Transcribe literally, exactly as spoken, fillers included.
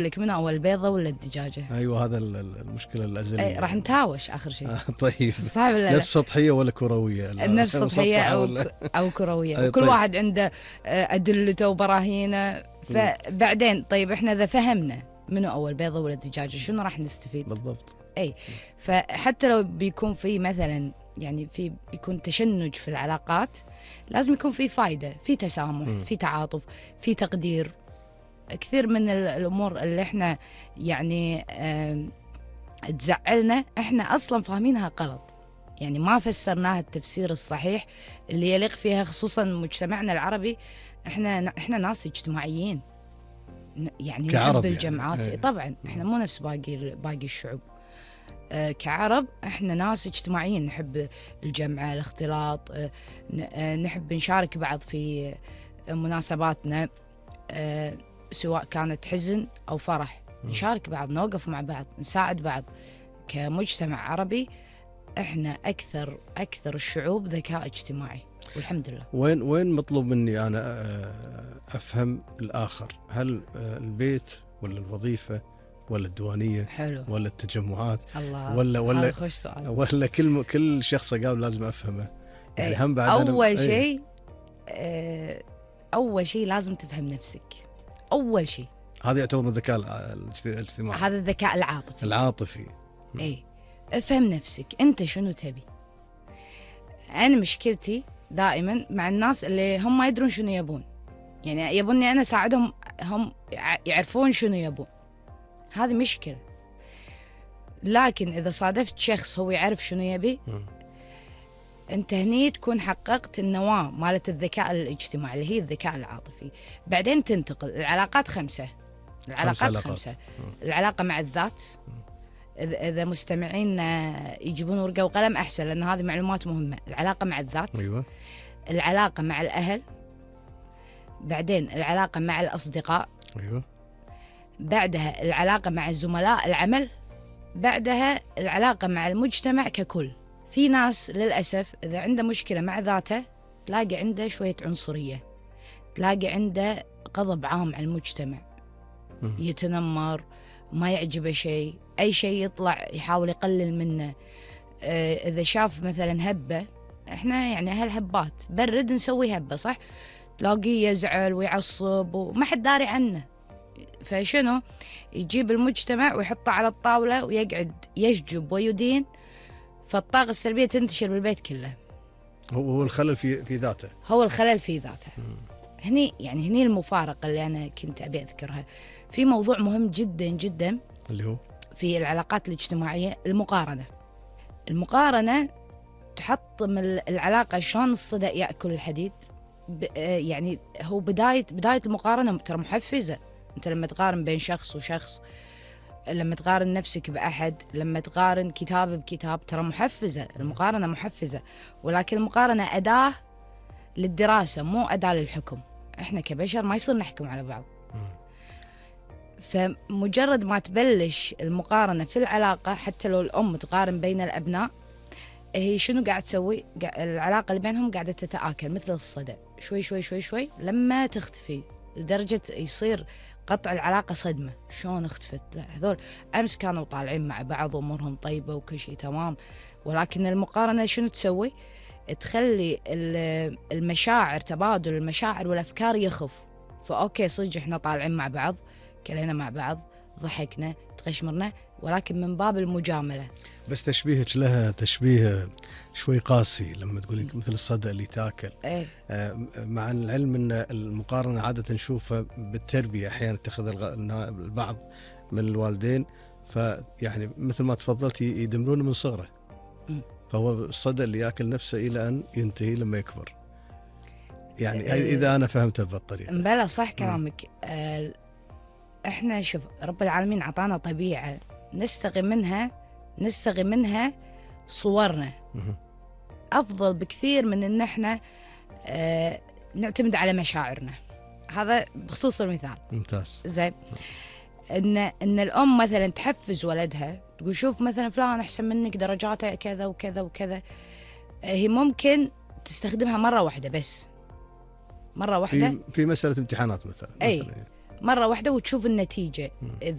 لك منو أول البيضة ولا الدجاجة؟ أيوة هذا المشكلة الأزلية. أي راح نتهاوش آخر شيء. آه طيب صعب ولا لا؟ نفس سطحية ولا كروية؟ نفس سطحية أو ولا... أو كروية. وكل طيب. واحد عنده أدلته وبراهينه. فبعدين طيب إحنا إذا فهمنا منو أول بيضة ولا الدجاجة شنو راح نستفيد؟ بالضبط. أي فحتى لو بيكون في مثلا يعني في بيكون تشنج في العلاقات، لازم يكون في فايدة، في تسامح، م. في تعاطف، في تقدير. كثير من الأمور اللي إحنا يعني تزعلنا إحنا أصلا فاهمينها غلط، يعني ما فسرناها التفسير الصحيح اللي يليق فيها، خصوصا مجتمعنا العربي. إحنا إحنا ناس اجتماعيين يعني نحب الجمعات يعني. طبعا إحنا مو نفس باقي باقي الشعوب. أه كعرب إحنا ناس اجتماعيين، نحب الجمعة، الاختلاط، أه نحب نشارك بعض في مناسباتنا، أه سواء كانت حزن أو فرح، نشارك بعض، نوقف مع بعض، نساعد بعض. كمجتمع عربي إحنا أكثر أكثر الشعوب ذكاء اجتماعي والحمد لله. وين وين مطلوب مني أنا أفهم الآخر؟ هل البيت ولا الوظيفة ولا الديوانية؟ حلو. ولا التجمعات؟ الله. ولا ولا خوش سؤال. ولا كل كل شخص قال لازم أفهمه يعني. هم بعد أول شيء أه أول شيء لازم تفهم نفسك. أول شيء هذا يعتبر من الذكاء الاجتماعي. هذا الذكاء العاطفي. العاطفي. اي افهم نفسك انت شنو تبي. انا مشكلتي دائما مع الناس اللي هم ما يدرون شنو يبون، يعني يبوني انا اساعدهم هم يعرفون شنو يبون. هذه مشكلة. لكن اذا صادفت شخص هو يعرف شنو يبي م. انت هني تكون حققت النواة مالت الذكاء الاجتماعي اللي هي الذكاء العاطفي. بعدين تنتقل العلاقات خمسة. العلاقات خمسة, خمسة. العلاقة مع الذات، إذا مستمعين يجيبون ورقة وقلم أحسن لأن هذه معلومات مهمة. العلاقة مع الذات. أيوة. العلاقة مع الأهل. بعدين العلاقة مع الأصدقاء. أيوة. بعدها العلاقة مع زملاء العمل. بعدها العلاقة مع المجتمع ككل. في ناس للأسف إذا عنده مشكلة مع ذاته تلاقي عنده شوية عنصرية، تلاقي عنده غضب عام على المجتمع، يتنمر، ما يعجبه شيء، أي شيء يطلع يحاول يقلل منه. آه إذا شاف مثلا هبة، إحنا يعني أهل هبات، برد نسوي هبة صح، تلاقيه يزعل ويعصب وما حد داري عنه. فشنو يجيب المجتمع ويحطه على الطاولة ويقعد يشجب ويدين، فالطاقة السلبية تنتشر بالبيت كله. هو الخلل في في ذاته. هو الخلل في ذاته. هني يعني هني المفارقة اللي أنا كنت أبي أذكرها. في موضوع مهم جدا جدا اللي هو في العلاقات الاجتماعية، المقارنة. المقارنة تحطم العلاقة. شلون الصدأ يأكل الحديد؟ يعني هو بداية بداية المقارنة ترى محفزة. أنت لما تقارن بين شخص وشخص، لما تقارن نفسك بأحد، لما تقارن كتاب بكتاب، ترى محفزة. المقارنة محفزة، ولكن المقارنة أداة للدراسة مو أداة للحكم. إحنا كبشر ما يصير نحكم على بعض. فمجرد ما تبلش المقارنة في العلاقة، حتى لو الأم تقارن بين الأبناء، هي شنو قاعد تسوي؟ العلاقة اللي بينهم قاعدة تتآكل مثل الصدى، شوي شوي شوي شوي لما تختفي لدرجة يصير قطع العلاقة صدمة. شلون اختفت؟ هذول أمس كانوا طالعين مع بعض وأمورهم طيبة وكل شيء تمام، ولكن المقارنة شنو تسوي؟ تخلي المشاعر، تبادل المشاعر والأفكار يخف. فأوكي صدق إحنا طالعين مع بعض، كلينا مع بعض، ضحكنا، تغشمرنا، ولكن من باب المجاملة. بس تشبيهك لها تشبيه شوي قاسي لما تقولين مثل الصدى اللي تاكل. إيه؟ آه مع العلم أن المقارنة عادة نشوفها بالتربية، أحيانا تأخذ البعض من الوالدين، فيعني مثل ما تفضلت يدمرونه من صغره، فهو الصدى اللي يأكل نفسه إلى أن ينتهي لما يكبر. يعني إيه؟ إذا أنا فهمتها بالطريقة. بلا صح كلامك. آه إحنا شوف رب العالمين عطانا طبيعة نستغي منها نستغي منها صورنا أفضل بكثير من إن إحنا آه نعتمد على مشاعرنا. هذا بخصوص المثال. ممتاز. زين. إن إن الأم مثلا تحفز ولدها، تقول شوف مثلا فلان أحسن منك، درجاته كذا وكذا وكذا. هي ممكن تستخدمها مرة واحدة بس، مرة واحدة في في مسألة امتحانات مثلا. أي مثلاً. مرة واحدة وتشوف النتيجة. مم. إذا